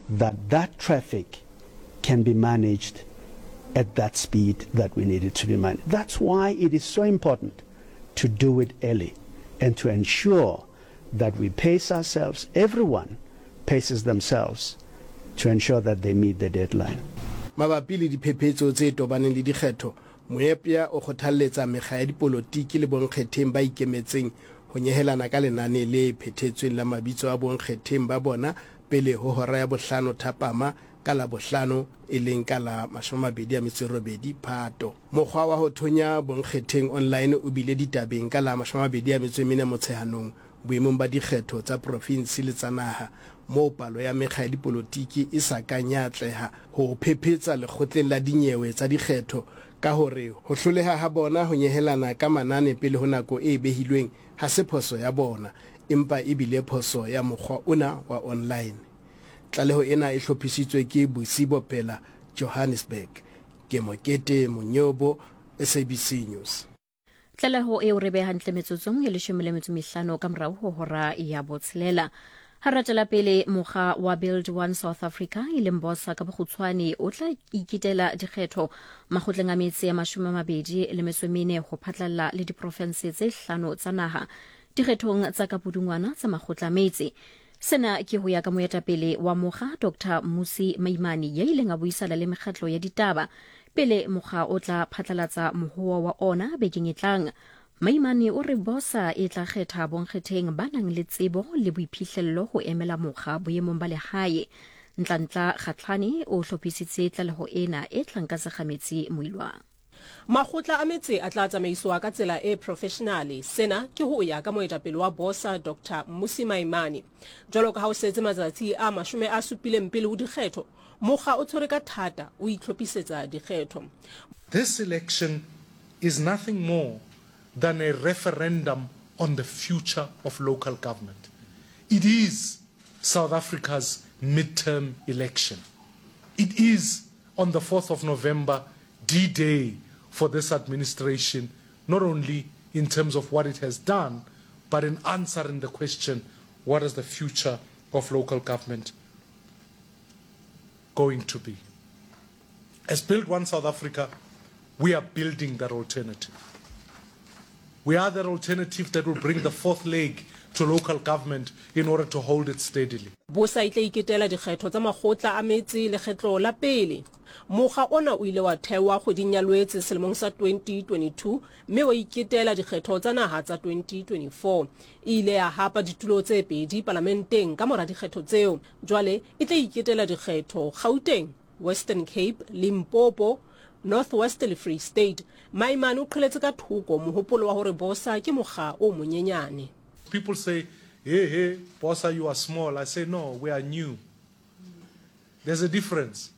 that that traffic can be managed at that speed that we need it to be managed. That's why it is so important to do it early and to ensure that we pace ourselves, everyone paces themselves to ensure that they meet the deadline. Mabapi le diphephetso tse tobaneng le dikgetho, Moepya o kgothalletsa mekga ya dipolotiki le bonkgetheng ba ikemetseng ho nyehelana ka lenane le phethetsweng la mabitso a bonkgetheng ba bona pele ho hora ya bohlano thapama ka Labohlano e leng ka la 28 Phato. Mokgwa wa ho thonya bonkgetheng online o bile ditabeng ka la 24 Motsheanong boemong ba dikgetho tsa profinse le tsa naha moo palo ya mekga ya dipolotiki e sa kang ya atleha ho phephetsa lekgotleng la dinyewe tsa dikgetho ka hore ho hloleha ha bona ho nyehelana ka manane pele ho nako e behilweng ha se phoso ya bona empa e bile phoso ya mokgwa ona wa online. Tlaleho ena e hlophisitswe ke Busi Bopela, Johannesburg. Ke Mokete Monyobo, SABC News. Tlaleho eo re beha hantle metsotsong e leshome le metso mehlano ka morao ho hora ya botshelela. Ha re tšwela pele, mokga wa Build One South Africa e leng Bosa ka bokgutshwane o tla ikitela dikgetho makgotleng a metse ya 24 ho phatlalla le diprofense tse hlano tsa naha dikgethong tsa ka pudungwana tsa makgotla a metse. Sena ke ho ya ka moetapele wa mokga Dr Mmusi Maimane ya ileng a buisana le mekgatlo ya ditaba pele mokga o tla phatlalatsa mohoa wa ona bekeng e tlang. Maimane o re Bosa e tla kgetha bonkgetheng ba nang le tsebo le boiphihlello ho emela mokga boemong ba lehae. Ntlantla Kgatlhane o hlophisitse tlaleho ena e tlang ka Sekgametsi Moilwa. Makgotla a metse a tla tsamaisoa ka tsela e profeshenale. Sena ke ho ya ka moetapele wa Bosa Doctor Mmusi Maimane. Jwalo ka ha o setse matsatsi a 70 pele ho dikgetho, mokga o tshwere ka thata o itlhophisetsa dikgetho. This election is nothing more than a referendum on the future of local government. It is South Africa's midterm election. It is on the 4th of November, D-Day for this administration, not only in terms of what it has done, but in answering the question, what is the future of local government going to be? As Build One South Africa, we are building that alternative. We are that alternative that will bring the fourth leg to local government in order to hold it steadily. Bosa e tla iketela dikgetho tsa makgotla a metse lekgetlo la pele. Mokga ona o ile wa thewa kgweding ya Lwetse selemong sa 2022 mme wa iketela dikgetho tsa naha tsa 2024. E ile ya hapa ditulo tse pedi palamenteng ka mora dikgetho tseo. Jwale e tla iketela dikgetho Gauteng, Western Cape, Limpopo, North West le Free State. Maimane o qheletse ka thoko mohopolo wa hore Bosa ke mokga o monyenyane. People say, hey, hey, Bosa, you are small. I say, no, we are new. There's a difference.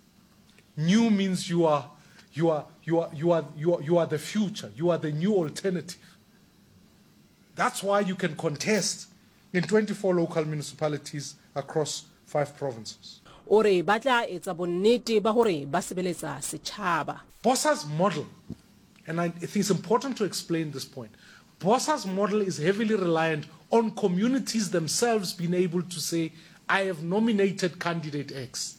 New means you are, you are, you are, you are, you are, you are the future. You are the new alternative. That's why you can contest in 24 local municipalities across five provinces. O re ba tla etsa bonnete ba hore ba sebeletsa setjhaba. Bosa's model, and I think it's important to explain this point, Bosa's model is heavily reliant on communities themselves being able to say, I have nominated candidate X.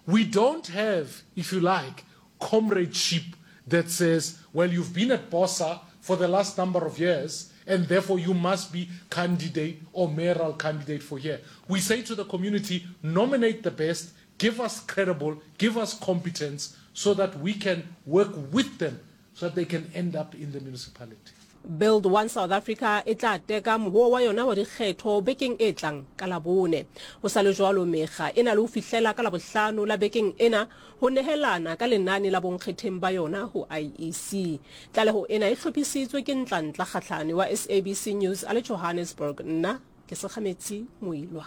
We don't have, if you like, comradeship that says, well, you've been at Bosa for the last number of years, and therefore you must be candidate or mayoral candidate for here. We say to the community, nominate the best, give us credible, give us competence, so that we can work with them so that they can end up in the municipality. Build One South Africa e tla teka mohoo wa yona wa dikgetho bekeng e tlang ka Labone. Ho sa le jwalo, mekga e na le ho fihlela ka Labohlano la bekeng ena ho nehelana ka lenane la bonkgetheng ba yona ho IEC. Tlaleho ena e hlophisitswe ke Ntlantla Kgahlane wa SABC News a le Johannesburg. Nna ke Sekgametsi Moilwa.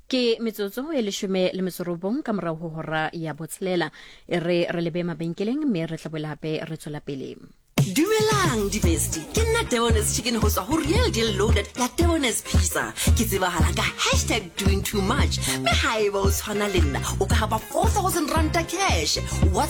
Ke metsotso e leshome le metso robong ka morago ho hora ya botshelela. E re re lebe mabenkeleng mme re tla boela hape re tswela pele. Dumelang di-bestie, ke nna Debonair's Chicken go tswa go Real Deal Loaded ya Debonair's Pizza. Ke tsebahala ka hashtag doing too much, mme haeba o tshwana le nna o ka hapa 4000 ranta cash. WhatsApp